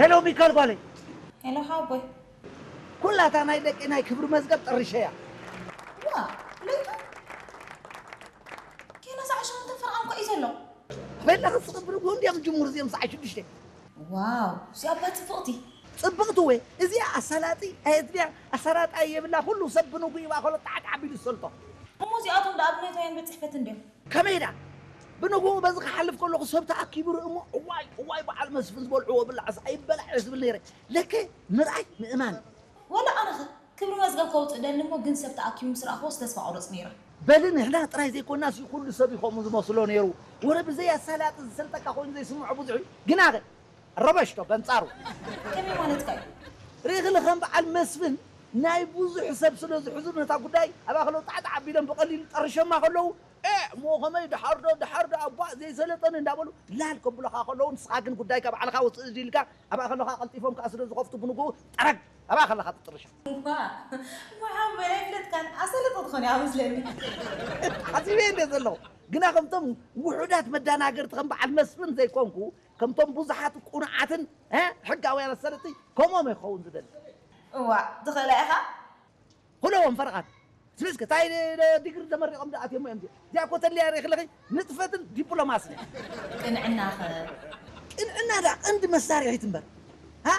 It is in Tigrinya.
ሄሎ ሚካል ጓለይ። ሄሎ ሓወቦይ። ኩላታ ናይ ደቂ ናይ ክብሪ መዝገብ ጠሪሸያ። ዋ፣ ለይቱ ኬና ሳዕ ሸሞንተ ፈርቓን ኮ እዩ ዘሎ። በላ ክስቕብር ብኡ እንዲያም ጅምሩ እዚኦም ሰዓት ሽዱሽተ። ዋው፣ እዚኣ እባ ጽብቕቲ። ጽብቕቲ ወይ እዚኣ ኣሳላጢ ኣየትብያ ኣሳላጣ የብላ ኩሉ ሰብ ብንጉ ይባ ከሎ ጣዕጣዕ ቢሉ ዝሰልጦ። እሞ እዚኣቶም ደኣ ብነታዮም ቤት ጽሕፈት እንድዮም። ከመይ ዳ ብንጉ በዚ ክሓልፍ ከለኹ ሰብ ተኣኪቡ ርኢ እሞ እዋይ እዋይ በዓል መስፍን ዝበልዕዎ ብላዕስ ኣይበላዕ እየ ዝብል ነይረ። ለከ ምርኣይ ምእማን። ወላ ኣነኸ ክብሪ መዝገብ ከውፅእ ደሊ እሞ ግን ሰብ ተኣኪቡ ምስ ረኣኽዎስ ተስፋ ቆረፅ ነይረ። በሊ ንሕና ጥራይ ዘይኮናስ ኩሉ ሰብ እዩ ከምኡ ዝመስሎ ነይሩ። ወረ ብዘይ ኣሳላጢ ዝሰልጠካ ኮይኑ ዘይስምዖ ብዙሕ እዩ። ግና ኸ ረበሽቶ በንጻሩ ከመይ ማለትካ እዩ? ርኢኽሊ ከም በዓል መስፍን ናይ ብዙሕ ሰብ ስለ ዝሕዝኑ ነታ ጉዳይ ኣብ ኣኸለው ጣዕጣዕ ኣቢሎም ብቐሊሉ ጠርሸማ ከለዉ እ እሞ ከመይ ድሓር ዶ ድሓር ዶ ኣቧ ዘይሰለጠኒ እንዳበሉ ላል ከብሉኻ ከለዉ ንስኻ ግን ጉዳይካ ባዕልኻ ውፅእ ኢልካ ኣብ ኣኸለኻ ቀልጢፎም ከዓ ስለ ዝኸፍቱ ብንግኡ ጠረግ ኣብ ኣኸለኻ ትጥርሻ ዋ ሓወይ ኣይፍለጥካን ኣሰልጦ ትኾን እያ መስለኒ። ሓሲበ እንደ ዘለኹ ግና ከምቶም ውሑዳት መዳናገርቲ ከም በዓል መስፍን ዘይኮንኩ ከምቶም ብዙሓት ቁኑዓትን እ፣ ሕጋውያን ኣሰልጥቲ ከምኦም ይኸውን ዝደሊ እዋ ትኽእላ ኢኻ። ኩለዎም ፈርቓት ስለዚ እንታይ ዲግሪ ተመሪቖም ዝኣትዮም እዮም እዚኣ እኮ ተልያ ርኢኽለኺ ንጥፈትን ዲፕሎማስን ቅንዕናኸ? ቅንዕና ዳ ቀንዲ መሳርሒት እምበር ሃ